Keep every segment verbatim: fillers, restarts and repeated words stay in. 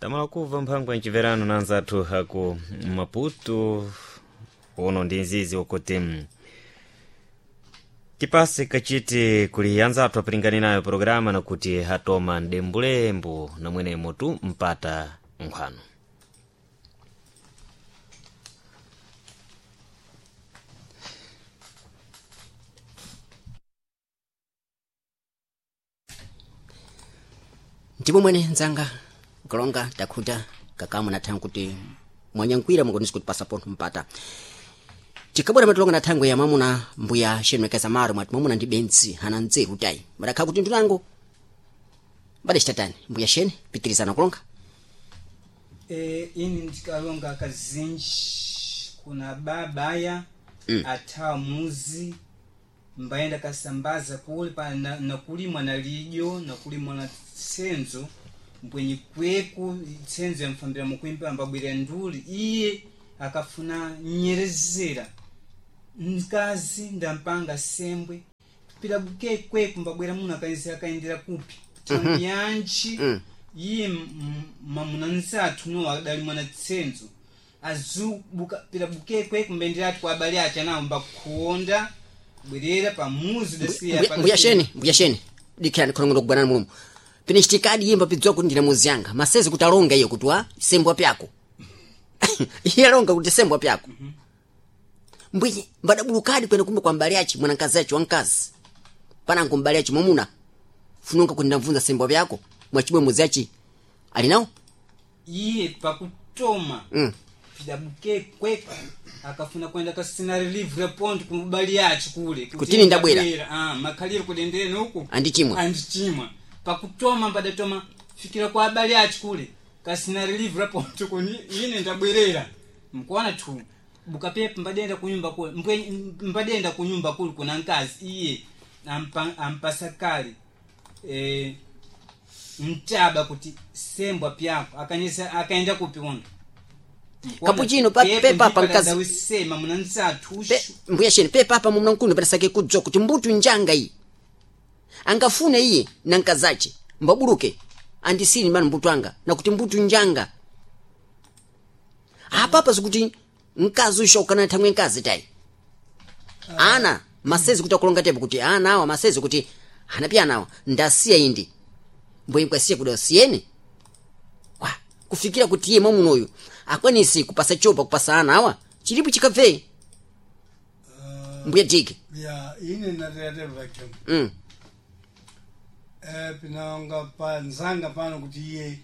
Tamala kuva mphango ya mciverano na anzathu aku Maputo uno ndi nzizi ukuti mm, tipase kachiti kuli anzathu apilingani nayo programa nakuti hatoma mdembulembu namwenemo tu mpata nkhwano. Ndipo mwene nzanga kulonga takhuta kakamu na thangu kuti mwanyankwira mukonisi kuti pasapontho mpata tikabwera matulonga na thangwe ya mwamuna mbuya shenwekeza maro mwati mwamuna ndi benzi hana nzeru tayi madakhala kuti ndunango mbadecitatani mbuya shene pitirizana kulonga. E, ini ndikalonga kazinji kuna babaya mm. athawa muzi mbayenda kasambaza kule pa na, nakulimwa na lidyo nakulimwa na tsenzo mbwenye kweku tsenzo yamfambira mukuimba ambabwira nduli iye akafuna nyerezera mkazi ndampanga sembwe pila buke kweku mbabwera muno akaenzi akaendera kupi thangu yanji iye m- m- mamuna nsathu no adali mwana tsenzo azubuka pila buke kweku mbendera ati kwa abale ache anawo mbakuonda bwerera pamuzi dasiya Mbuya- mbuya shene mbuya shene dikhirani khonong'ono kugwanani mulumu pine chitikadi yimba pidziwa kuti ndine muzi yanga masezi kuti alonga iye kuti wa sembwa pyako iye alonga kuti sembwa pyako mbwiye mbadabulukadi kwene kumbe kwa mbali achi mwanakazi achi wankazi panango mbali achi mwamuna funonga kuti ndamvunza sembwa pyako mwachibwe muzi achi ali nawo iye pakutoma mm. pila buke kweku akafuna kwenda kasina relief report kubali yachi kule Kutini ndabwera. ah makhaliro kudendere nuku Andichimwa. andichimwa pakutoma mbadatoma fikira kwa abali achi kule kasina relief report kuni ine ndabwerera mkuona tu bukapepa mbadenda kunyumba kule mbwe mbadenda kunyumba kule kuna nkazi iye ampa, ampasakali eh mtaba kuti sembwa pyako akanyesa akaenda kupi uno Kapuchino, pa- pepa pa nkazi. wisema muna nsathu Pe, mbuya shene pepa apa mumuna mkulu panasake kudzwa kuti mbutu njanga iyi angafune iye na nkazache mbabuluke andisini mano mbutu anga nakuti mbutu njanga apapa zikuti mkazi ushaukana thangwe mkazi tayi ana masezi kuti akulonga tepo kuti ana awa masezi kuti anapi anawa ndasiya indi mbwe kwasiya kuti asiyeni kwa kufikira kuti iye mwamunoyu akwanisi kupasa chopa kupasa ana awa chilipo chikabve mbuya diki ya ine nateyatevakem mm. eh pinanga pa nzanga pano kuti iye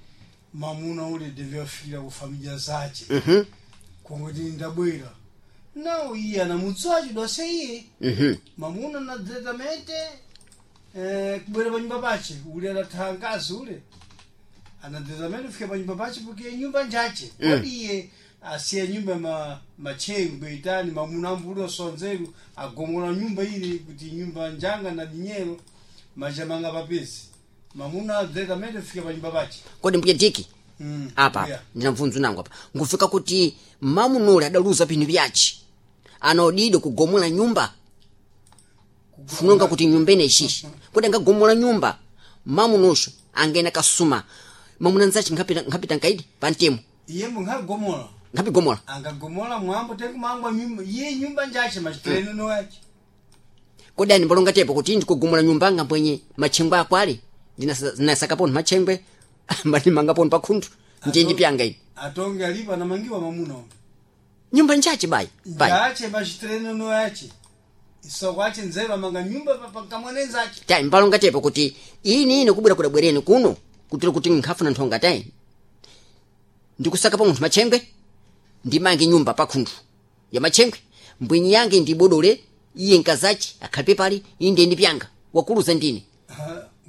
mamuna ule devyafikira ku familia zace mhm kongoti ndabwera nawo iye anamutsaci dwase iye mhm mamuna na diretamente eh, kubwera panyumba pace ule adatha nkazi ule ana diretamente kufika panyumba pace porque nyumba njace Mm. kodi iye asiya nyumba ma machengwe itani mamuna ambuli osonzeru agomola nyumba ile kuti nyumba njanga na dinyero machamanga papezi mamuna diretamente kufika panyumba pace kodi mbuya diki Mm, apa yeah. apa ndinamvunzu nangu apa ngufika kuti mamunuli adaluza pinthu pyace anaodidwa kugomola nyumba funonga kuti nyumba ine ishishi kodi angagomola nyumba mamunosho angaena kasuma mamuna nzace nkhapita nkhapita nkaidi pantemo iye mungagomola nkhapigomola angagomola mwambo tekumangwa nyumba iye nyumba njace machitireno noyace kodi ani mbalonga tepo kuti ndikugomola nyumba anga mbwenye matchengwe ako ali ndinasakapontho matchengwe mbandimanga pa khunthu ndiye ndipyanga ine atonge alipo anamangiwa mamuna uno nyumba njace bayi bayi njache machitireno noyache isokwache nzeru amanga nyumba pakamwanenzache tayi mbalonga tepo kuti ini ine kubwera kudabwereni kuno kutira kuti nkhafuna nthonga tayi ndikusaka pa munthu matchengwe ndimange nyumba pa khunthu ya matchengwe mbwinyi yange ndibodole iye nkazache akhalipe pali iyi ndiye ndipyanga wakuluza ndine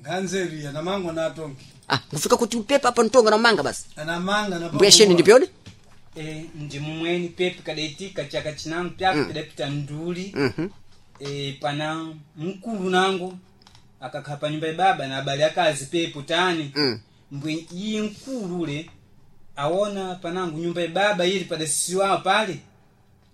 nganzeru iye anamangwa na atonge ah ngufika kuti upepa apa ntonga namanga basi anamanga na mbuya sheni ndipyone e, ndimumweni pepe kadaitika chaka chinango pyako pidapita nduli mhm e, pana mkulu nango akakhala pa nyumba ya baba na abale akazi pepo tani Mm. mbwe iye mkulu ule aona panango nyumba ya baba ili padasisiwawo pale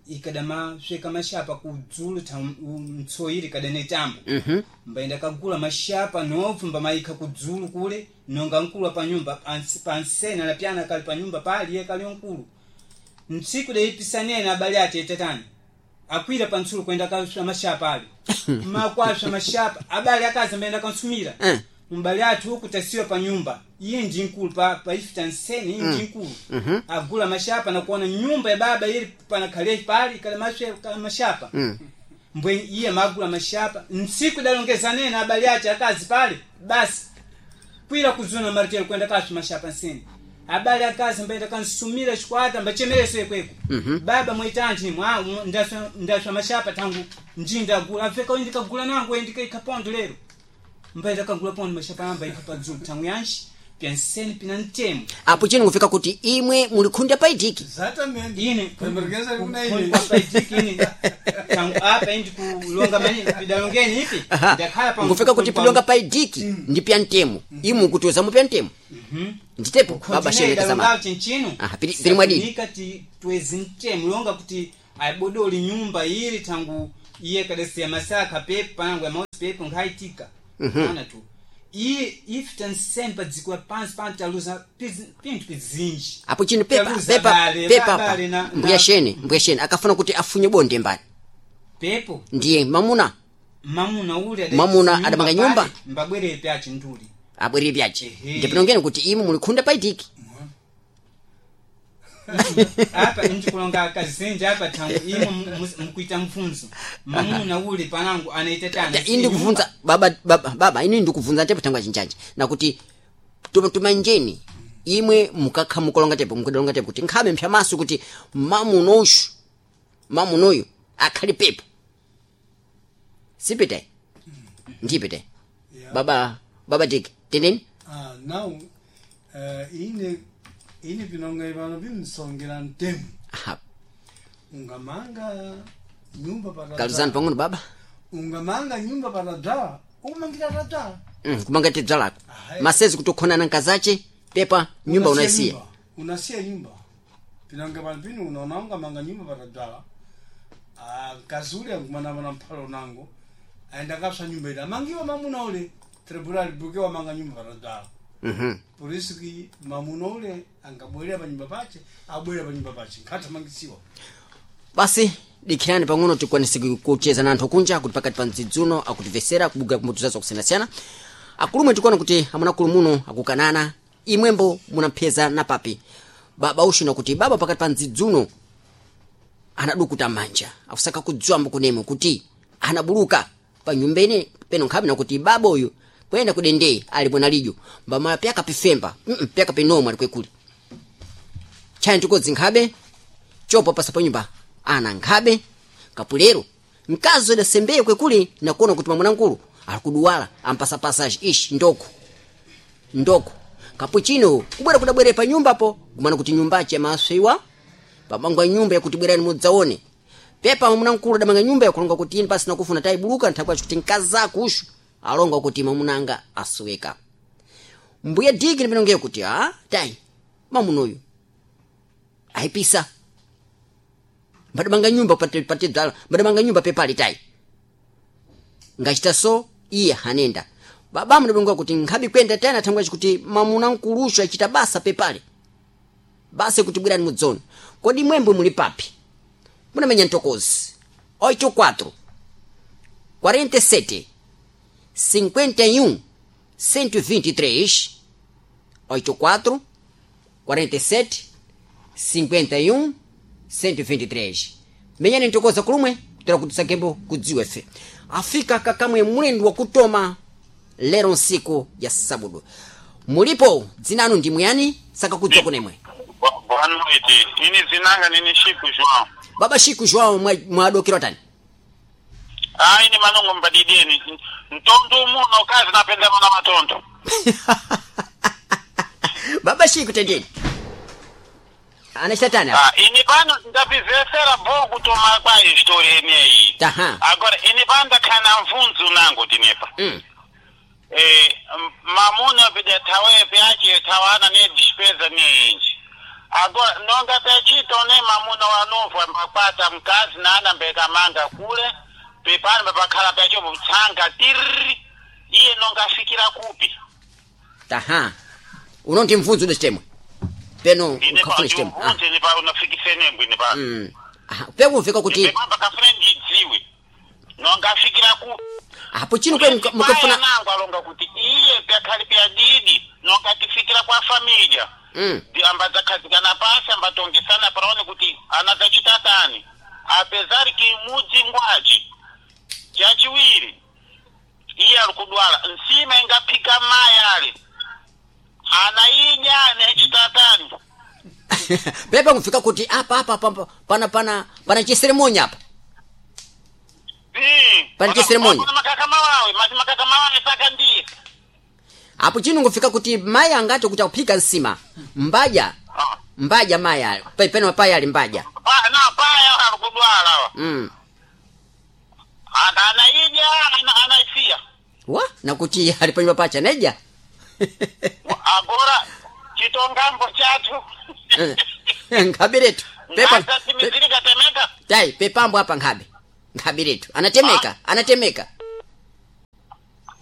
Ikadama sweka mashapa kudzulu ta mtsoyiri kadane tambo. Mhm. Mbaenda kagula mashapa novu mbamayika kudzulu kule nonga nkulu pa nyumba pansi- pansena na pyana kali pa nyumba pali iye kali nkulu. Ntsiku deipisanena abale ati etetani akwira pantsulu kwenda kaswa mashapa ali makwaswa mashapa abale akazi mbaenda kansumira Eh. mbale athu uku tasiwa pa nyumba iye ndi nkulu pa, pa ifita nsene iye ndi nkulu Mhm. agula mashapa nakuona nyumba ya baba ili panakhale pali kale mashe- kale mashapa Mm. mbwe iye magula mashapa ntsiku idalongeza nene abale ache akazi pale basi kwira kuzuna maritelo kwenda kasu mashapa nsene abale akazi mbaenda kansumira chikwata mbachemereso yekweko Mhm. baba mwitanji mwa ndaswa ndaswa mashapa tangu njinda agula afeka ndikagula nangu ndikaika pondo lero mbaenda kagula pondo mashapa amba ika padzulu tangu yanshi pyansene pina ntemo Apo chino ngufika kuti imwe mulikhunda paitiki. Exatamente. Ine Pembergeza kuna ine. paitiki tangu apa indi kulonga mani pidalongeni ipi Aha. ndakhala pa Ngufika kuti pilonga paitiki ndi pya ntemo. Imwe kuti zamu pya ntemo. Nditepo baba shene kazama. chinchino Aha, pili- pili mwadini. Safunika ti twezi ntemo longa kuti ayibodoli nyumba ili tangu iye kadasiya masaka pepo panangu ya mausi pepo nkhaitika ona tu iye ifita nsene padziko la pansi pantaluza pinthu pizinji Apo chino pepa Taluza pepa bale, pepa bale apa. na- na- Mbuya shene, mbuya shene akafuna kuti afunye bonde mbani. pepo Ndiye mamuna mamuna uli ada- Mamuna adamanga nyumba? pale, mbabwerere pyachi nduli abwerere pyache. Ehe. Ndipinongeni kuti imwe mulikhunda paitiki. Apa ndikulonga kazinji apa tangu imwe mukuita mfunzo mamuna uli panangu anaita tani Ini ndikuvunza baba baba baba ini ndikuvunza tepo tangwa chinjanja nakuti tuma- tumanjeni imwe mukakha mukolonga tepo mukudalonga tepo kuti nkhabe mphyamaso kuti mamunoshu mamunoyu akhali pepo sipite ndipite Yeah. baba baba dik teneni Ah, now eh, ine ine pinonga ivano bimsongera ntemu. Aha, Ungamanga nyumba kaluzani patadzala. pang'ono baba. Ungamanga nyumba patadzala. Ukumangira tadzala. Mm, kumanga tedzalako Ahe. masezi kuti ukhonana nkazache pepa nyumba unaisiya. nyumba. Unasiya nyumba. Pinonga pano pino unaona ungamanga nyumba patadzala. Ah, mkazi ule angumana pana mphalo nango. Aenda kapsa nyumba ile. Amangiwa mamuna ule. Tribunal buke wamanga nyumba patadzala. Mhm. Por isso que mamuna ule angabwerera pa nyumba pache, abwerera pa nyumba pache. Nkhathamangisiwa. Basi dikhirani pang'ono tikwanise kucheza na anthu kunja kuti pakati pa mdzidzuno akutimvesera kubuga kumbuto zazo kusiyanasiyana akulumwe tikuona kuti amuna akulu muno akukanana imwembo munampheza na papi baba ushina kuti baba pakati pa mdzidzuno anadukuta manja akusaka kudzwambo kunemwe kuti anabuluka pa nyumba ine peno nkhabe nakuti baba uyu kuyenda kudendei ali bwana lidyo mbamala pyaka pifemba mm -mm, pyaka pinomwe ali kwekuli chani tikodzi nkhabe chopo pasa pa nyumba ana nkhabe kapulero mkazi adasembeye kwekuli nakuona kuti mwamuna ali kuduwala ampasa passage ishi ndoko ndoko kapuchino kubwera kudabwere pa nyumbapo kumana kuti nyumbache amaswiwa pamangwa nyumba yakuti bwerani mudzaone pepa mwamuna adamanga nyumba yakulonga kuti ine pasina kufuna tayibuluka nthakwacho kuti mkazi ushu alonga kuti mwamunanga asweka mbuya diki ndipinongeyo kuti a tayi mamunoyu ayipisa mbadamanga nyumba pate pate mbadamanga nyumba pepali tayi ngachita so iye hanenda baba mnabonga kuti nkhabi kwenda tena thangwa kuti mamuna nkulusha achita basa pepale basa kuti bwerani mudzone kodi mwembo muli papi munamenya ntokozi oito quatro quarenta e sete cinquenta e um cento e vinte e três oito quatro quarenta e sete cinquenta e um cento e vinte e três menyani ntokoza kulumwe kutera kuti sakembo kudziwa ife afika kakamwe mwendu wakutoma lero nsiku ya sabudu mulipo dzinanu ndi mwiyani saka kudziwa kunemwe. Bo- Boa noite. Ini zinanga nini Chico João. Baba Chico João mwadokera tani. Ah, ini manongo mbadideni. Ntonto muno kazi napenda mwana matonto. Baba Chico tendeni anachita tani apa? Ah, ini pano ndapizesera bo kutoma kwa história ineyi. Taha. Agora ini pano ndakhana mfunzo nango tinepa. Mm. Eh, m- mamuna pida tawe pyache tawana ne despesa ne inji. Agora nonga pechito ne mamuna wanovu ambakwata mkazi nana mbeka manga kule pepano papakhala pecho tsanga tiriri iye nonga afikira kupi Aha. Uno ndi mvunzo ude chitemwe. Peno ine ukafuna chitemwe. Ah. pandiuvunze ne pa unafikisenembo ine pa Mm. Aha. Peko mfika kuti pepamba kafune ndidziwe nonga afikira kupi apo chino kwe muka- mukafuna nango alonga kuti iye pyakhali pya didi nonga tifikira kwa familia Mm. Ndi ambadzakhazikana pasi ambatongesana paone kuti anadzachita tani apezari kimudzi ngwaci chachiwiri iye ali kudwala nsima ingaphika mayi ali anaidya anechita tani pepa mfika kuti apa apa apa pana pana pana chiseremonya apa. Mm. Pani chiseremonya. Pana makaka mawawe mati makaka mawawe saka ndiye Apo chino ngofika kuti mayi angati kuti akuphika nsima. Mbaja. Ah. Mbaja mayi ali. Pe- Peno paya ali mbaja. Pa- na paya ali kudwala awa. Mm. Ana- anaidya ana- anaisiya Wa nakuti ali panyumba pacha neja. agora chitongambo chathu Nkhabiretu. Pepa. pe- ngasatimizirika temeka Tai pepambo apa nkhabe. Nkhabiretu. Anatemeka, anatemeka.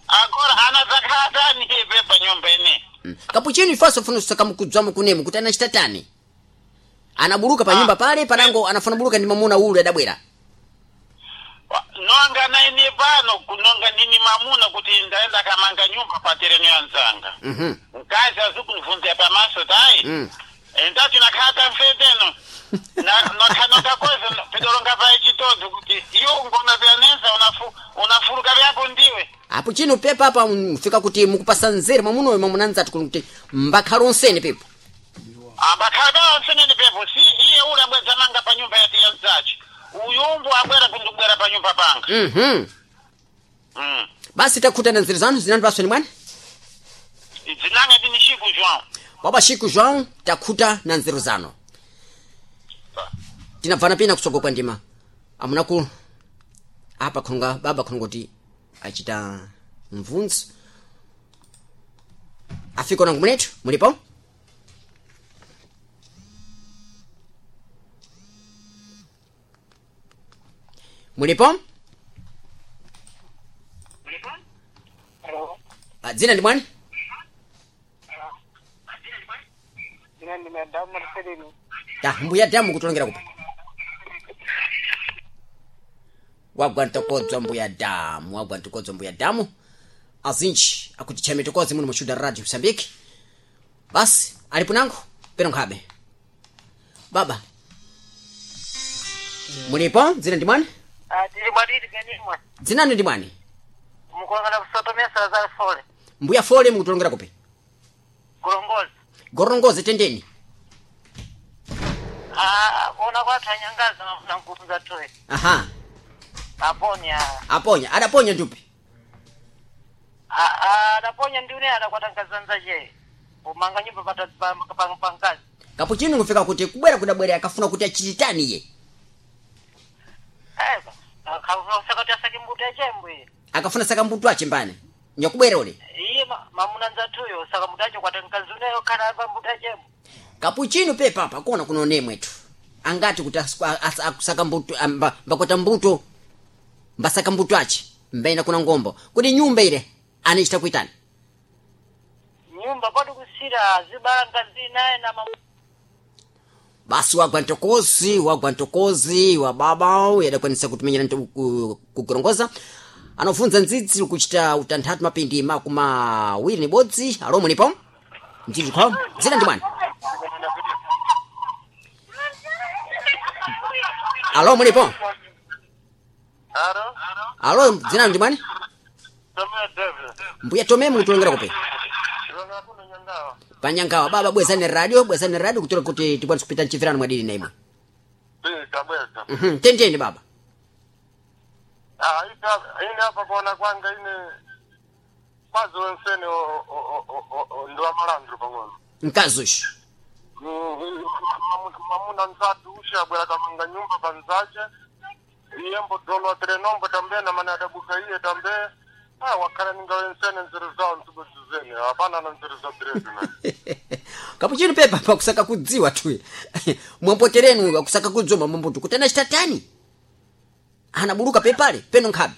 agora anadzakhala tani pepa nyumba ine Mm. Kapuchino ifaso funa kusaka mukudzwamo kunemu kuti anachita tani. Anabuluka pa nyumba pale panango anafuna buluka ndi mamuna ule adabwera. nonga naine pano kunonga ndini mamuna kuti ndaenda kamanga nyumba pa tereno ya nzanga Mhm. mkazi azikunivunzira pamaso tayi Mm. ndati nakhala mfeteno nokhakoza pidolonga paye chitodzo kuti iwo ngona vyanenza unafu unafuluka vyako ndiwe Apo chino pepa apa mfika kuti mukupasa nzeru mwamuna uyo mwamuna nzati kuti mbakhala onsene pepo. ambakhala onsenene pepo si iye ule abwedzamanga pa nyumba yati ya mzachi uyumbu abwera kundibwera pa nyumba panga Mhm. mm. Basi takhutana nzeru zanu zinani pasoni mwana. dzinanga tini Chico João Baba Chico João takhuta na nzeru zanu. Tinabvana pina kusogo kwa ndima. Amunaku apa khonga baba khonga kuti achita mvunzo. Afika nangu munetu mulipo? Mulipo? Ah, Dzina ndi mwani? Dzina ndi Madamu Marcelino. Ta mbuya damu kutolongera kupa. Wagwa ntokodzwa mbuya damu, wagwa ntokodzwa mbuya damu. Azinji akuti chame tokozi muno mushuda radio Mozambique. Basi alipo nangu pero nkhabe. Baba. Mulipo? Dzina ndi mwani? Ah, tili bwadidi ganimwa. Dzinani ndi mwani? Mukulongana kusotomesa za fole. Mbuya fole mukutolongera kupi. Kulongoza. Gorongoze tendeni. Ah, ona kwathu anyangaza na nguvu za toy. Aha, Aponya. aponya, adaponya ndupi. Ah, ah, adaponya ndiune adakwata je. Umanga nyumba pata pa pa pangazi. Kapuchino ngufika kuti kubwera kudabwera akafuna kuti achititani iye. Eh, akafuna asake mbuto yachembwe. Akafuna saka mbuto ache mbane. Nyakubwera ule. Iye ma- mamuna nzathuyo saka mbuto acho kwata nkazi uneyo kana pa mbuto yachembwe. Kapuchino pepa apa kona kuno nemwetu angati kuti asukwa- as- akusaka mbuto amba, mbakwata mbuto mbasaka mbuto ache mbaina kuna ngombo kuti nyumba ile anichita kuitani Nyumba padu kusira zibala ngazi naye na mamu basi wagwa ntokozi wagwa ntokozi wa baba yadakwanisa kutumenyera nto- ku- kugorongoza anofunza ndzidzi kuchita utanthatu mapindi makumi awiri ni bodzi alo mulipo mdzidzi kho dzina ndi mwana alo mulipo Aro? alo dzina ndi mwani Tomeo David. mbuya tome mukutulongera kupi Longa kuno nyangawa. panyangawa baba bwezani radio bwezani radio kutola kuti tikwanise kupita mchimvirano mwadini na imwe Eh, kabweza. Mhm, tendeni baba Ah, ita ine apa kuona kwanga ine kwazi wensene o- o- o- o- o- ndi wamalandro pang'ono mkazi uyu Mm, mamu- mamuna nzatu ushe abwera kamanga nyumba panzace iye mbodolwa trenombo tambe na mana adabuka iye tambe Ah, wakhala ningawensene nzeru zawo ntsibuzizene hapana na nzeru za biredi na Kapuchino pepa pakusaka kudziwa tu. Mwampoterenu akusaka kudzoma mambutu kuti anachitatani. Anaburuka pepale peno nkhabe.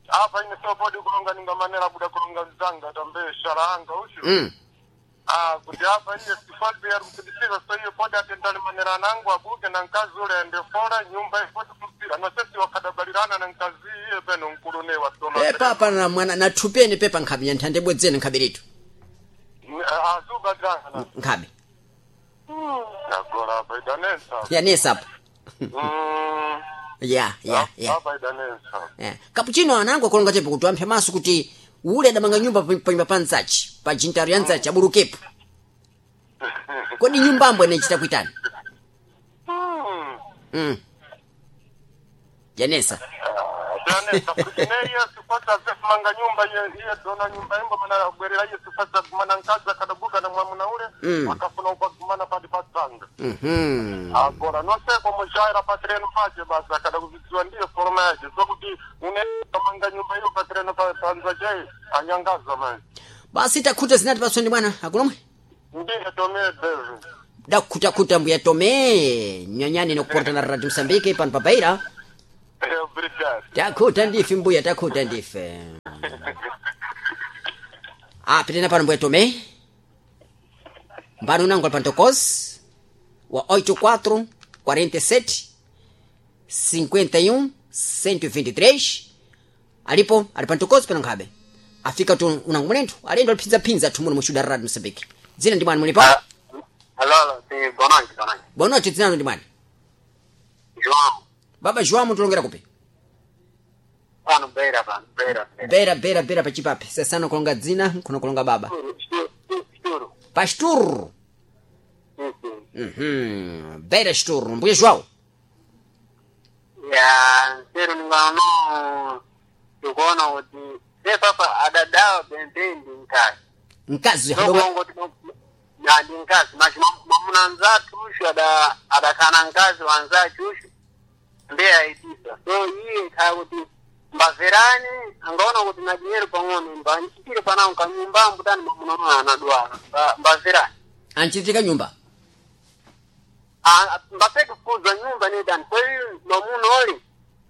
Apa ine sopodi kulonga ningamanera buda kulonga nzanga tambe shala anga ushu. Mm. Ah, kuti apa iye sifadi yari kudisiza so iyo podi atendali manera nangu abuke na nkazi ule ende fora nyumba ifoti kumpira na sesi wakadabalirana na nkazi iye peno nkulune wasoma. Pepa apa na mwana na thupeni pepa nkhabe nyanthande bwedzene nkhabe letu. Azuba dranga na. Nkhabe. Agora apa idanensa. Yanesa apa. Mm. Ya, ya, ya. Apa idanensa. Yeah. Kapuchino anangu akulonga tepo kuti amphe maso kuti ule adamanga nyumba pa- panyumba pa nzachi pa jintaro ya nzachi aburukepo. Kodi nyumbambo inachita kuitani? Mm. Mm. Yanesa. Idanensa kuti neiye sifasa manga nyumba iye iye dona nyumba imbo mana bwerera iye sifasa kumana nkazi akadabuka na mwamuna ule Mm. akafuna ukwagumana padi patsanga. Mhm. Agora noseko mushaira patreno pache basi akada kuzidziwa ndiyo forma yache sokuti une manga nyumba iyo patreno pa- panza chai anyangaza manje Basi takhuta zinati pasoni bwana akulomwe. ndiye tome bevu Dakhutakhuta mbuya tome nyanyani nokuporta na Radio Msambiki pano pabaira. Obrigado. Takhuta ndife mbuya takhuta ndife. Ah, pitena pano mbuya tome. Mbano nangu alpantokos wa oito quatro quarenta e sete cinquenta e um cento e vinte e três alipo alipantokozi pano nkhabe afika tu unangu mulenthu alendo aliphinzaphinza thu muno muchuda Radio Msambiki. Dzina ndi mwani mulipo? Alô, alô, sim, boa noite, boa noite. Boa noite, dzina ndi mwani. João, Baba João mutulongera kupi? pano Beira, pano, Beira, Beira. Bera bera bera pachipape. Sasano kulonga dzina, kuno kulonga baba. Churo, churo, churo. Pastur. Sim, sim. Mhm. Bera Stur, mbuya João. Ya, nseru ningano, ndikuona kuti, se papa adadawa bembendi nkazi. Mkazi hadoga. Ndokuongo kuti na ndi nkazi, mas mwamuna nzathu ushu ada adakana nkazi wanzachu ushu, ndiye aitisa. So iye kaya kuti mbamverani, angaona kuti na dinheiro pang'ono, mbanchitire panawo kanyumba mbutani mwamuna uno anadwala, Mba- mbamverani. Anchitika nyumba. Ah, mbapeke kukuza nyumba nedani kwa hiyo mwamuna oli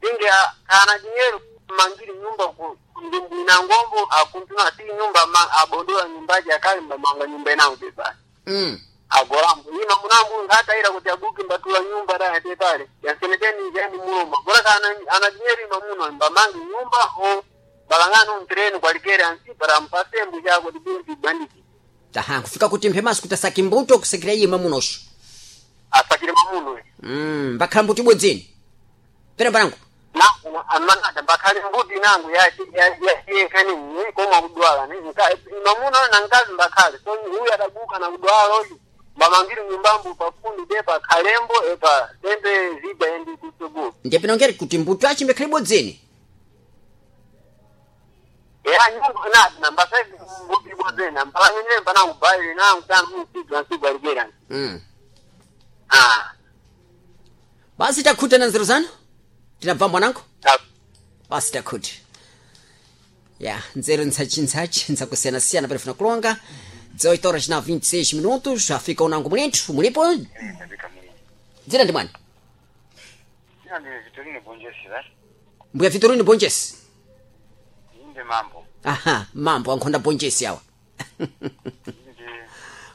dinge kana dinheiro mangiri nyumba ku ndina ngombo akuntuna si nyumba ma, abodola nyumbaji akali mbamanga nyumba inango bebani Mm. agorambo ina munambu ngataira kuti abuke mbatula nyumba da yate pale yaseneteni jani muloma bora kana ana dinheiro mamuno mbamangi nyumba o balangano mtreni kwalikere ansi para mpasembu chako dibinti bandiki Taha kufika kuti mphemaso kuti asaki mbuto kusekera iye mamunosho. asakire mamuno Mm, mbakhala mbuto ibwedzeni. Pera mbanangu. nangu amanada mbakhale mbuti nangu yayekhani koma kudwala mamuna na nkazi mbakhale so uyu adabuka na kudwala uyu mbamangiri nyumbambu pafundi tepa khalembo epa tembe zida endi kutsogolo Ndiye pinongeri kuti mbuto achi mbekhale ibwedzeni. era nyumba nati nambasai mbuti ibwedzeni mbalanyene mpanangu baile nangu tanu msigwa nsigwa ligera Mm. ah Basi takhuta na nzeru zanu. Tinabva mwanangu. ta- Basi takhuta. Ya, nzeru ntsachi ntsachi ntsakusiyana-siyana palifuna kulonga. dezoito horas na vinte e seis minutos, afika unangu mulenthu, mulipo? Dzina ndi mwani. Ina ndi Vitorino Bonjesi va? Mbuya Vitorino Bonjesi. Inde mambo. Aha, mambo ankhonda Bonjesi awa. Inde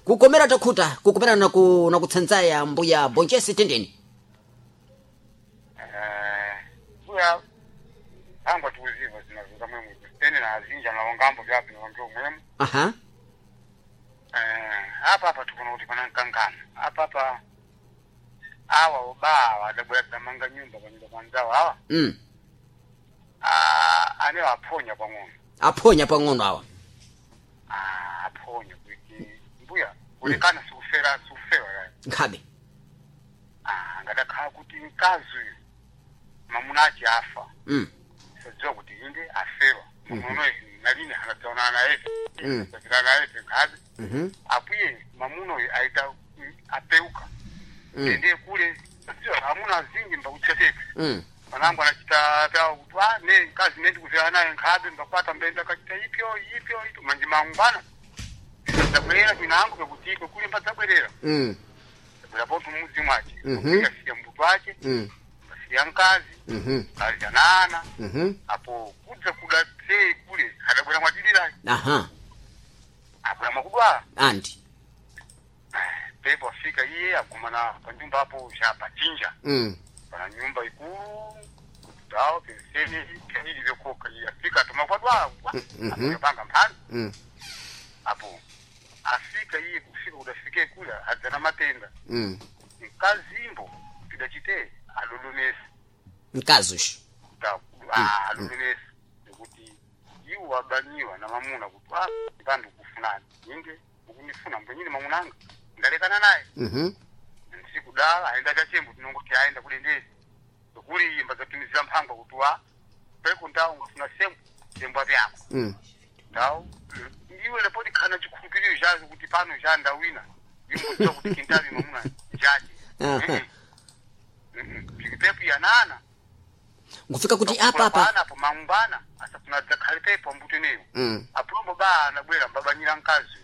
Kukomera takhuta, kukomera na ku na kutsanzaya mbuya Bonjesi tendeni. eh buya angwa tuziva zinazuka mwemu tene na azinja na ngambo vyapi na ngio mwemu. Aha. Eh apa apa tukuna kuti pana nkangana. Apa apa awa obawa adabwera damanga nyumba panyumba panzawo awa. Mm. Ah ane aphonya pang'ono. Aphonya pang'ono awa. Ah aphonya kuti mbuya kulekana sikufera sikufera yayi. Nkhabe. Ah ngadakhala kuti mkazi uyu mamuna achi afa. Mm. Sadziwa kuti inde afewa. Mamuno nalini anadzaonana naye. Mm. Sadzira naye nkhabe. Mhm. Apuye mamuno uyu aita mm, apeuka. Mm. Ende kule sadziwa amuna azingi mbakutseteka. Mm. Wanangu anachita pyawo kuti ah ne nkazi ne ndikuzera naye nkhabe mbakwata mbenda kachita ipyo ipyo ipyo manje mangwana. Ndabwera kwinangu pekuti iko kuli mbadzabwerera. Mm. Ndabwera poto mudzi mwache. Mhm. Kasiya mbuto wache, Mm. kasiya nkazi, Mhm. kazi anana. Mhm. Apo kudza kuda sei kule adabwera mwadilira Aha. abwera mwakudwala. Andi. Pepo afika iye agumana panyumba apo chapachinja. Mm. Pana nyumba ikulu dawo penseni kenili vyokoka iye afika atoma kwadwala Mhm. apanga mphani Mm. apo afika iye kufika kudafike kule adzana matenda Mm. mkazimbo tidachite alolomesa Mkazi usho. alolomesa nekuti iwo wabanyiwa na mamuna kuti ah pandu kufunani inge ukunifuna mbwenyini mamunanga ndalekana naye Mhm. nsikudala aenda chachembo tinongoti aenda kulendezi kuli imba zatumizira mphangwa kuti wa peko ndawo ngafuna sembo sembo apyako Mm. ndawo iwe lepoti khana chikhulupiriro chazo kuti pano cha ndawina imbodziwa kuti kintavi mamuna njache Aha. pilipepo yanana Ngufika kuti apa apa. apo mangwana asafuna dzakhale pepo ambuteneyo Mm. apulombo ba anabwera mbabanyira mkazi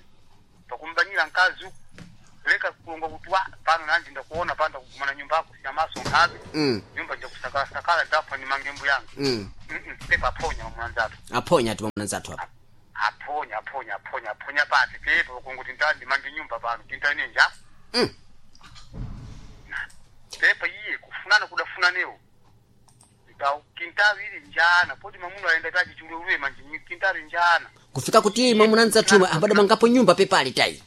pakumbanyira mkazi uku leka kulonga kuti wa pano nanje ndakuona pano ndakugumana nyumba yako siyamaso nkhabe Mm. nyumba njakusakala ndafa ni mangembo yanga Mm. Mm-mm, pepo aphonya mamunanzatu Aphonya ati mwamunanzathu apa. aphonya aphonya aphonya aphonya pati pepo kunguti ndandi mange nyumba pano tintane nja Mm. pepo iye kufunana kudafunanewo ndawu kintavi ili njana poti mamuno aenda tachi chululuwe manje kintavi njana Kufika kuti mwamunanzathu ambadamangapo nyumba pepali tai.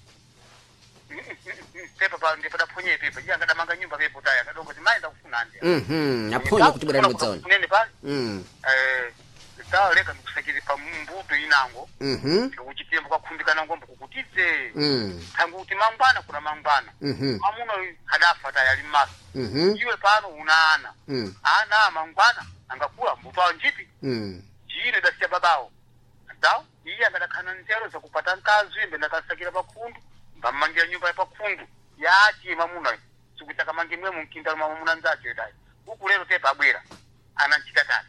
pepa pa ndipo daphonye pepa iye angadamanga nyumba pepo tayi akadongo ti mayi ndakufuna ndi Mhm. Aphonya kuti bwana mudzaona. kunene pali Mm. eh tawaleka ndikusakire pa mbuto inango Mhm. ndikuchitembo kwakhumbikana ngombo kukutidze Mm. thangu kuti mangwana kuna mangwana Mhm. mamuno adafa tayi ali mmaso Mhm. iwe pano una ana Mm. ana mangwana angakula mbuto awo njipi Mm. jino idasiya babawo ndawo iye akadakhana nzero zakupata mkazi imbe ndakasakira pakhundu mbammangira nyumba ya pakhundu yachi mamuna sikuti akamange mwe mumkinda mamuna nzacho itayi uku lero tepa abwera ananchita tani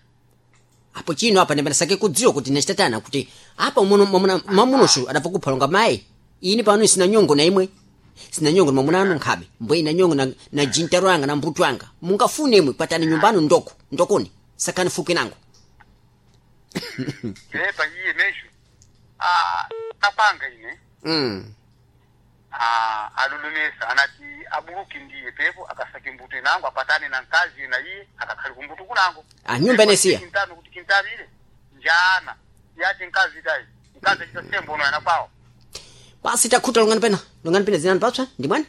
Apo chino apa ndimbanasake kudziwa kuti nachitatana kuti apa muno mwamuna mamunoshu adapfa kuphalonga mayi. Ini pano sina nyongo na imwe. Sina nyongo na mwamuna anu nkhabe. Mbwe ina nyongo na, na jintaro anga na mbuto anga. Mungafune imwe patani nyumbano ndoko. Ndokoni. Sakani fuke nango. tepa iye mesho ah kapanga ine Mm. ah alulumesa anati abuluki ndiye pepo akasake mbuto inango apatane na mkazi na iye akakhali kumbuto kunango Ah, nyumba inesiya. kintano kuti kintabile njana yati mkazi tayi mkazi achita sembo uno yanakwawo Basi takhuta longani pena. Longani pena zinani patswa ndi mwani?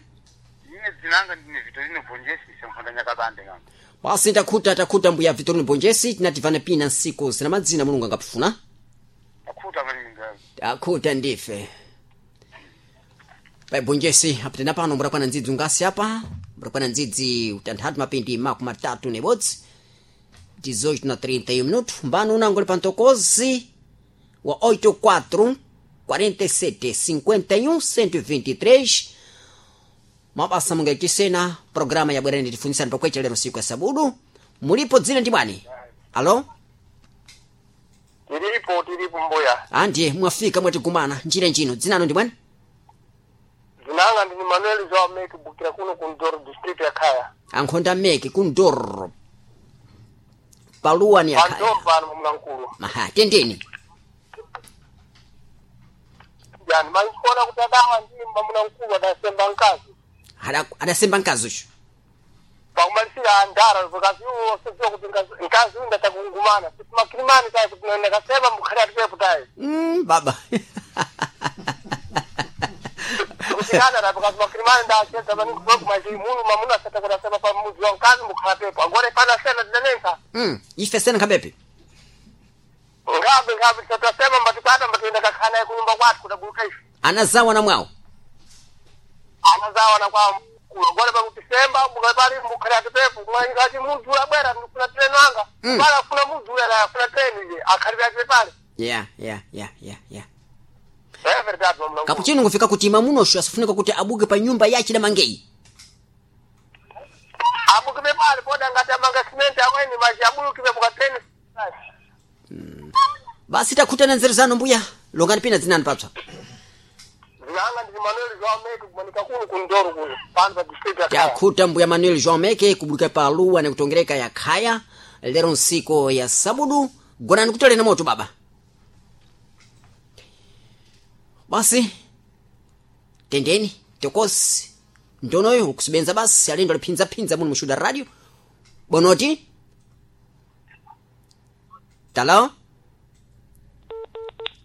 ine dzinanga ndine Vitorino Bonjesi semphanda nyakabande nganga Basi takhuta takhuta mbuya Vitorino Bonjesi tinativana pina nsiku zina madzina mulungu angapfuna. takhuta maninga Takhuta ndife. Pai Bonjesi apitena pano mburakwana ndzidzi ungasi apa. Mburakwana ndzidzi utanthatu mapindi makumi matatu nebodzi. dezoito na trinta e um minuto. Mbano unangoli pantokozi wa oito quatro quarenta e sete cinquenta e um cento e vinte e três. Mabasa mungaichisena programa ya bwerani tifunisani pakwecha lero siku ya sabudu. Mulipo dzina ndi bwani? Alo? tiripo tiripo mbuya Andiye mwafika mwatigumana njira njino dzinano ndi bwani? dzinanga ndini Manuel Joao Meke bukira kuno ku Ndoro district ya Khaya Ankhonda meke kundoro. Paluwa ni pandoro akhaya. pano mumlankulu Maha, tendeni. yani manikuona kuti adawa ndi mamuna adasemba mkazi Ada- Adasemba mkazi uchu. pakumalisira andara because iwo wasedziwa kuti nkazi- nkazi uyu ndatakungumana simakirimani tayi kuti ndakasema mukhale atipepo tayi Mm, baba. kutikana ta because makirimani ndachedza maningi munu mamuna asata kuti asema pa mudzi wa mkazi mukhala pepo agora pana sena tinanensa mm, ife sena nkhabepe. ngabe ngabe tisatasema mbatikwata mbatienda kakhala naye kunyumba kwathu kudaguluka ife Anazawa na mwawo. anazawa na kwa mkulu agora pakuti semba mukapali mukhale atipepo mwangati mudzi abwera ndikufuna treni wanga Mm. pala afuna mudzi uya afuna treni ije akhalire atipe pale Yeah, yeah, yeah, yeah, yeah. é verdade mamuna Kapuchino ngufika kuti mamunoshu asifunika kuti abuke pa nyumba yachi na mangeyi. abuka Abulukibe pale poda ngati amanga simenti amweni maji abulukibe mukateni. Basi takhutana nzeru zanu mbuya. Longani pina dzinani papsa. Zinanga ndi Manuel João Meke kumanika kuno kundoro kuno pano pa district ya Khaya. Takhuta mbuya Manuel João Meke kubuluka pa luwa nekutongereka ya Khaya lero nsiko ya sabudu. Gonani kutolena moto baba. Basi tendeni tokosi ndonoyo ukusibenza basi alendo aliphinzaphinza muno mushuda radio bonoti talo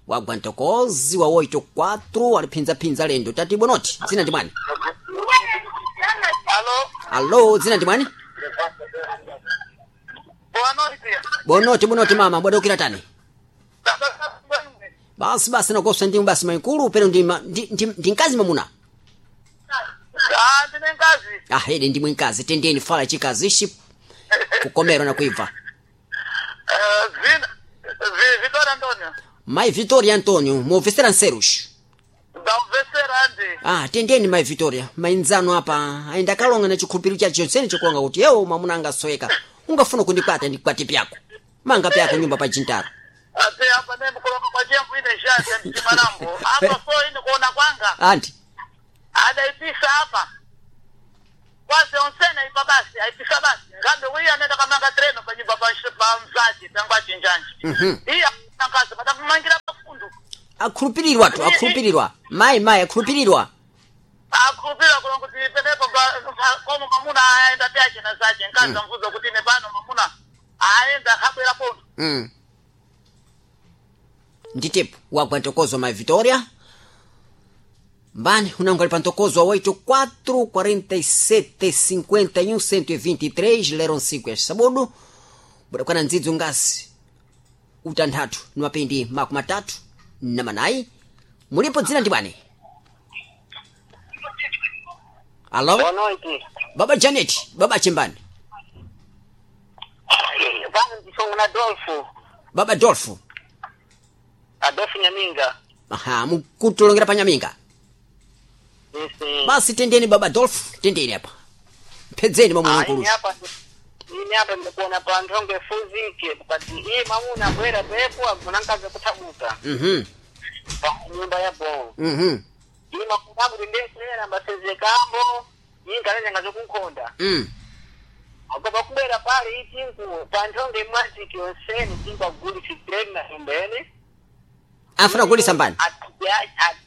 wagwa ntokozi wa oito quatro aliphinzaphinza lendo tati bonoti dzina ndi mwani. Alo, Alo, dzina ndi mwani. boa noite. Bonoti bonoti mama bwadokera tani. Basi basi nakosa ndimu basi maikulu pero ndi ma- ndi ndi, ndi mkazi mamuna. Ah, ndine nkazi. Ah, ede ndimwe mkazi tendeni fala chikazishi kukomera na kuibva. Eh, zina Vi- Vitória Antônio. Mai Vitória Antonio, muovesera nserush. Ndamvesera ndi. Ah, tendeni mai Vitória, mainzano apa ainda kalonga na chikhulupiriro chacho chonsene chokulonga kuti yewo mwamuna angasoyeka. Ungafuna kundikwata ndikwate pyako. Manga pyako nyumba pa jintaro. Ate apa ne mkulonga kwa chembu ine shati mtimalambo. Apa so ine kuona kwanga. Anti, Adaipisa apa. Kwase onsene ipa basi, aipisa basi. Ngambe wiya nenda kamanga treno pa nyumba pa pa mzazi tangwa chinjanji. Mhm. Iya nkazi patakumangira pafundu. akhulupirirwa tu, akhulupirirwa. Mai mai akhulupirirwa. Akhulupira kulonga kuti penepo pa- pa- komo mamuna aenda pyache na zache. Nkazi amvuza kuti ine pano mamuna aenda habwera pondo. Mm. Nditepo wagwa ntokozo mai Vitória. Mbani unangu ali pa ntokozo wa oito quatro quarenta e sete cinquenta e um cento e vinte e três lero nsiku ya sabudu budakwana ndzidzo ngasi utanthatu ni mapindi makumi matatu na manayi mulipo dzina ndi bwani. Alo. Boa noite. Baba Janet, baba chimbani. Pano ndisongo na Adolfo. Baba Dolfo. Adolfo Nyaminga. Aha, mukutulongera pa Nyaminga. Isi. Basi tendeni baba Dolfo, tendeni apa. Mphedzeni mamuna Ah, nkulu. ini hapa ini hapa ndikuona pa nthonge fuzike kati iye mamuna bwera pepo agunankaza kuthabuka Mhm. pa nyumba ya bo Mhm. iye mamuna kuti ndesera mbasezekambo iye nkalanyanga zokunkhonda Mm. agoba kubwera pale itinku pa nthonge mwaziki yonseni tinku agulisa treni na nyumbene Afuna kugulisa mbani.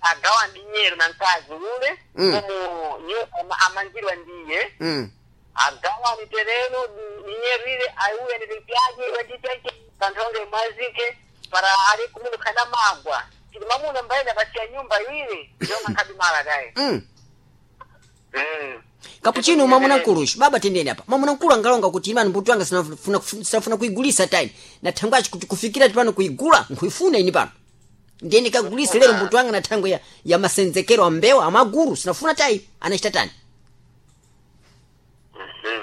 agawa ndi nyero na mkazi ule Mm. komo nyu- ama- amangirwa ndiye Mm. agawa ni tereno ninyerire aiuya nilipyaje wendipyaje kantonge mwazike para ali kumunu kana magwa tili mamuna mbaina basiya nyumba ile yonga nkabimala kaye Mm. mm. Kapuchino mwamuna nkulu baba tendeni apa. Mwamuna nkulu angalonga kuti imani mbuto wanga sinafuna sinafuna kuigulisa time. Na thangwachi kuti kufikira tipano kuigula nkuifuna ini pano. Ndiye nikagulisa lero mbuto wanga na thango ya, ya masenzekero ambewa amaguru sinafuna tai anachita tani.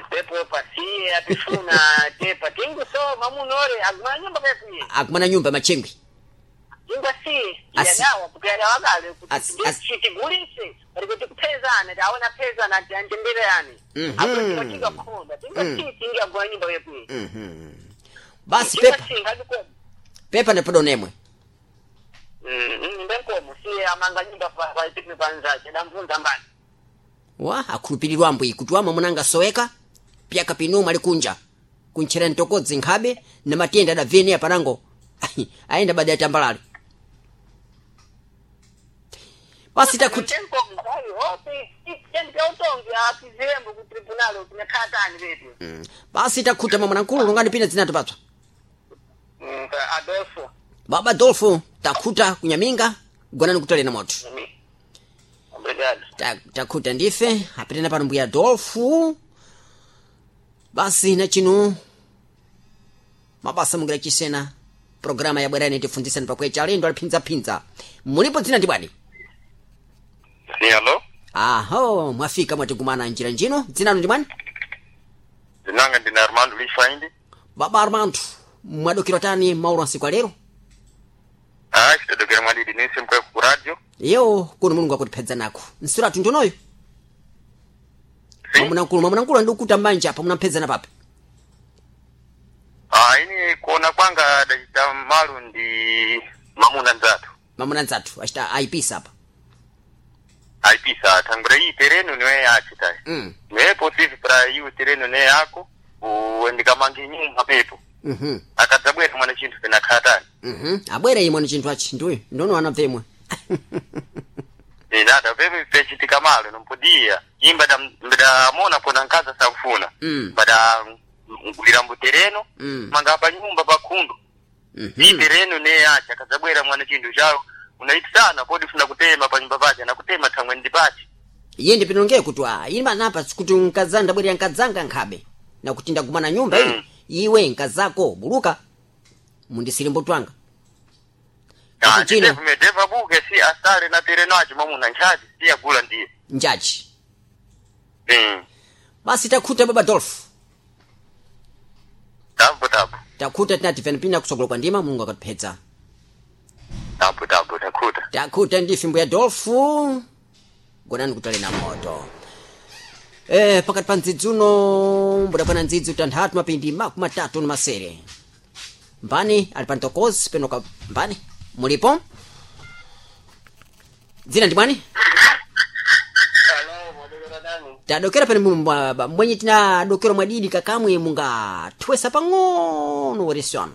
Pepo pasiye atifuna tepa tingu so mamuna ore agumana nyumba pepuye Akumana nyumba machengwi. tingu asi Asi- yadawa kuyadawa kale Asi- asi- kuti tigulise pari kuti kupezana taona pezana ati anjembererani Mhm. apo tinga khonda tingu asi tingi agumana nyumba pepuye Mhm. Basi pepa ngabikomo pepa nepodo nemwe. mbenkomo siye amanga nyumba paitiki panzace damvunza mbani Wa akhulupirirwa ambwi kuti wa mwamuna angasoweka pyaka pinu mali kunja kuntchera ntokodzi nkhabe na matenda adavene apanango ayenda bada yatambalale. Basi takuti mbenkomo ayi opi tendikautongi apizembo ku tribunal tinakhatani betu mm. Basi takhuta mwamuna nkulu lungani pina dzinato patswa. Adolfo. Baba Dolfo takhuta kunyaminga gonani kutolena moto. Obrigado. Ta- takhuta ndife apitena pano mbuya Dolfo. Basi na chinu mabasa mungira chisena programa ya bwerani tifunzisani pakwecha alendo aliphinzaphinza mulipo dzina ndi bwani. Sim, alô? Aho mwafika mwatikumana njira njino dzinanu ndi mwani. Zinanga ndine Armando Lifaindi. Baba Armando mwadokera tani maulu ansiku alero. Ah, xitodokera mwadidi nise mkwe ku radio. Yewo kuno mulungu akutiphedza nako nsuratu ndonoyo. Mwamuna nkulu mwamuna nkulu andikukuta mbanja apa munaphedzana papi. Ah, ini kuona kwanga dachita malu ndi mamuna nzathu. Mamuna nzathu achita aipisa apa. Aipisa thangwira iyi tereno niwe achitayi. Mm. Nepo sivi pra iwe tereno ne yako uendikamange nyumba pepo. Mhm. Akadzabwera mwana chinthu pena khatani. Mhm. Abwera imwe ni chinthu achi ndiuyu ndono anabvemwe. Inada pepe pechitika malo nompodia imba da ndamona kona nkaza sakufuna. Mm. Bada ngulira mbutereno Mm. manga pa nyumba pa khundu. Mhm. Iyi tereno ne yacha akadzabwera mwana chinthu chawo unaitisana kodi funa kutema pa nyumba pache nakutema thangwe ndi pache. Iye ndipinongeye kuti a ine manapa kuti nkadzanga ndabwerera nkadzanga nkhabe nakuti ndagumana nyumba iyi iwe nkazako buluka mundisire mbuto wanga. Ah, Kuti chino ndeva buke si asale na tereno acho mwamuna nchaji si agula ndiye. njaji. Mm. Basi takhuta baba Dolph. Tabu tabu. Takhuta tinati pena kusogola kwa ndima Mulungu akatiphetsa. Tabu tabu takhuta. Takhuta ndi fimbo ya Dolph. Gonani kutali na moto. Eh, pakati pa ndzidzi uno mbudakwana ndzidzi utanthatu mapindi makumi atatu ni masere. Mbani ali pa ntokozi penoka mbani mulipo? Dzina ndi mwani? Tadokera pene mu- mwa- mwenye tinadokera mwadidi kakamwe mungathwesa pang'ono weresi wanu.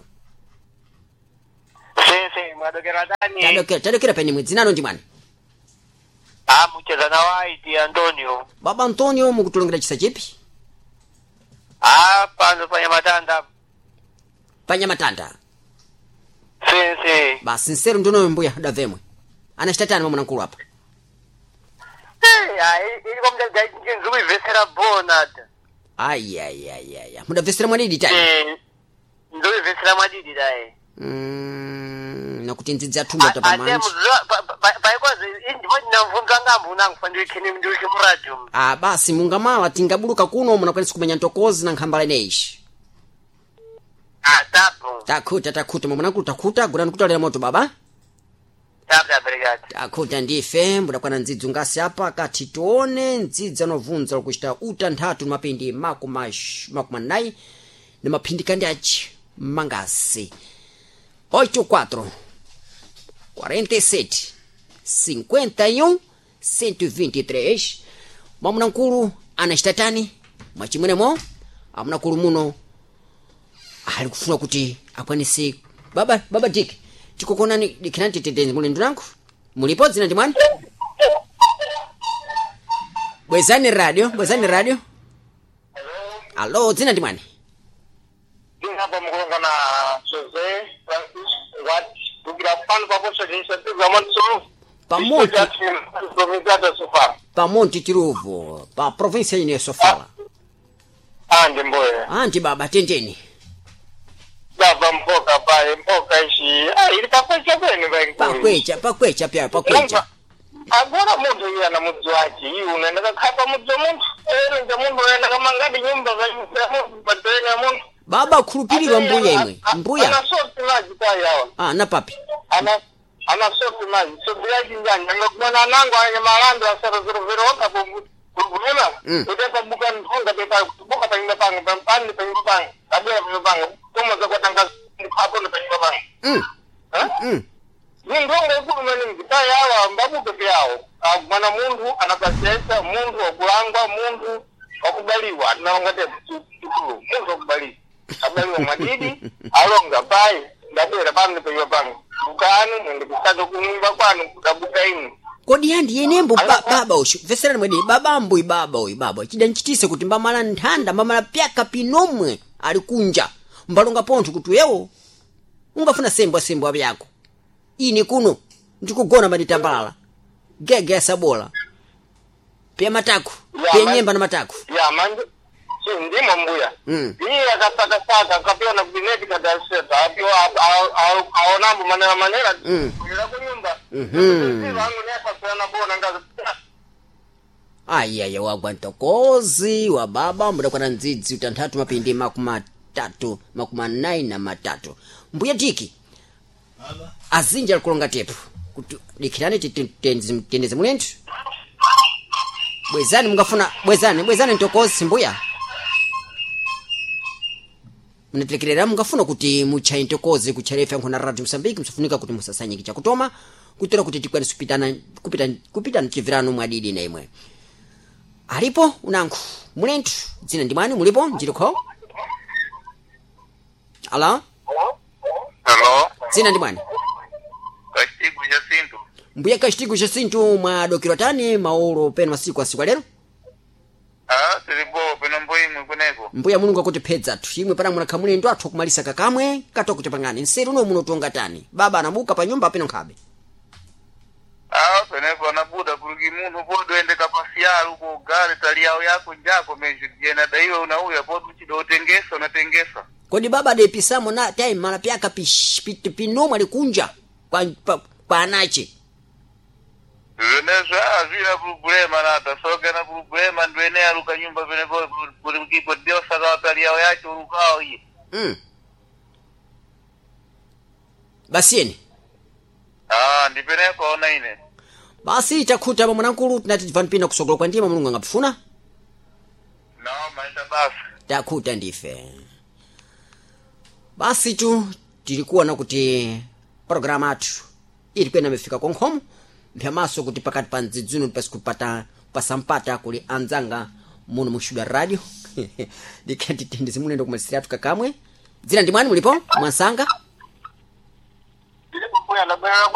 Sese mwadokera dani. Tadokera tadokera pene mwe dzinano ndi mwani? Ah, mucheza na White Antonio. Baba Antonio mukutulongera chisa chipi? Ah, pano pa Nyamatanda. Panyamatanda. Sese. Basi nseru ndonoyo mbuya davemwe. Anachitatani mwamuna nkulu apa? Eh, ah, ili kwa mda nzuku ivesera bona. Ayayayaya mudabvesera mwadidi tani? Eh, nzuku ivesera mwadidi dai. Mm, nakuti ndzidzi athumba Ate tapamanje. paikozi ndipo ndinamvunza ngambo unangu ndiukhini ndiukhi muradio. Ah, basi mungamala tingabuluka kuno munakwanisa kumenya ntokozi na nkhambala ineyi. Ah, tabu. Takhuta takhuta mwamuna nkulu takhuta gulani kutalera moto baba. Tabu taberigati. Takhuta ndife mbudakwana ndzidzi ungasi apa kati tione ndzidzi anovunza likuchita utanthatu ni mapindi makumi ash- makumi anayi ni maphindika ndi achi mangasi oito quatro quarenta e sete cinquenta e um cento e vinte e três. Mwamuna nkulu anachitatani mwachimwenemo amuna nkulu muno ali kufuna kuti akwanise baba baba Dick tikukonani dikirani titete muli ndunangu mulipo dzina ndi mwani? Bwezani radio bwezani radio. Alo, dzina ndi mwani? Ndinapa mukulonga na Jose Francis Wat kugira pano paposa initiative monso. Pamonte Provincia de Sofala. pamonte Tiruvo pa província ino ya Sofala. Ah, ndi mboya. Anti baba tendeni. Baba mpoka paye mpoka ishi. Ah, ili pakwecha kwenu paye. Pakwecha pakwecha pya pakwecha. Agora munthu iye ana mudzi wace iwe unaenda kakhapa mudzi wa munthu ero nja munthu unaenda kamangadi nyumba za munthu patereni ya munthu. Baba khulupirirwa mbuya imwe mbuya. Ana soti maji tayi awa. Ah, na papi. Ana ana soti maji soti yachi njani angakumana anango anye malando asara zero zero oka kugumema. Mm. Utepa buka nthonga pepa buka panyumba panga pampani panyumba panga kabwera panyumba panga koma zakwatanga hapo ndo panyumba panga. Mm. Eh? Mm. Nindongo ikulu maningi tayi awa mbabuke pyawo mwana munthu anapasesa munthu wakulangwa munthu wakubaliwa atinalonga tepo chikulu munthu wakubaliwa abaliwa mwadidi alonga payi ndabwera pano paiwa pano bukani mwende kusaka kunyumba kwanu kudabuka inu. Kodi yandi yenembo ba, baba ushu veserani mwedi baba mbui baba uyu baba chidanchitise kuti mbamala nthanda mbamala pyaka pinomwe ali kunja mbalonga pontho kuti yewo ungafuna sembwa sembwa vyako ini kuno ndikugona maditambalala gege yasabola pya mataku Ya, pya man- nyemba na mataku. Ya manje si ndimo mbuya. Mm. Iye akasakasaka akapiwa na kubineti kadaseta apiwa aonambo manera manera Mm. kulira kunyumba. Mhm. Vangu neapasana bona ngazi. Ayaya wagwa ntokozi wa baba mudakwana ndzidzi utanthatu mapindi makumi atatu makumi anayi na matatu mbuya tiki Baba. azinji alikulonga tepu kuti dikhirani titendeze mulenthu. Bwezani mungafuna bwezani bwezani ntokozi mbuya. Munatilekerera mungafuna kuti muchaye ntokozi kuchaya ife nkhona Radio Mosambiki msafunika kuti musasanyike chakutoma kutora kuti tikwanise kupitana kupita kupita mchivirano mwadidi na imwe. Alipo unankhu mulenthu dzina ndi mwani mulipo njilikho? Alo? Hello, Dzina ndi mwani? Kashtigu Jacinto. Mbuya Kashtigu Jacinto mwadokera tani maolo pena masiku asiku alero? Ah, tilipo peno mboimwe kuneko. Mbuya Mulungu akutiphedza thu imwe pana munakha mulendo athu akumalisa kakamwe katokuti pang'ani nseru uno munotonga tani baba anabuka pa nyumba peno nkhabe. Ah, penepo anabuda kuluki munthu podoende kapasiyalo uko gale tali yawo yako njako meji jena daiwe unauya podu chido utengesa unatengesa. Kodi baba adepisamo na time mala pyaka pish- pi- pinomwe alikunja kwa, pa, kwa anache. Zvenezo ah zvina problema nata soka na problema ndwene aluka nyumba penepo kulukipo diosa ka tali yawo yacho ulukao iye. Mm. Basiyeni. Ah, ndi penepo ona ine. Basi takhuta pa mwanamkulu tinati tivani pina kusogola kwa ndima Mulungu angapfuna. No, maita basi. Takhuta ndife. Basi tu tilikuwa na kuti programu athu ili kwena imefika konkhomo mphyamaso kuti pakati pa mdzidzuno pasi kupata pasampata kuli anzanga muno muxuda radio ndikhatitendezi mulendo kumalisira athu kakamwe. Dzina ndi mwani mulipo mwansanga? Ndilipo kuya ndabwera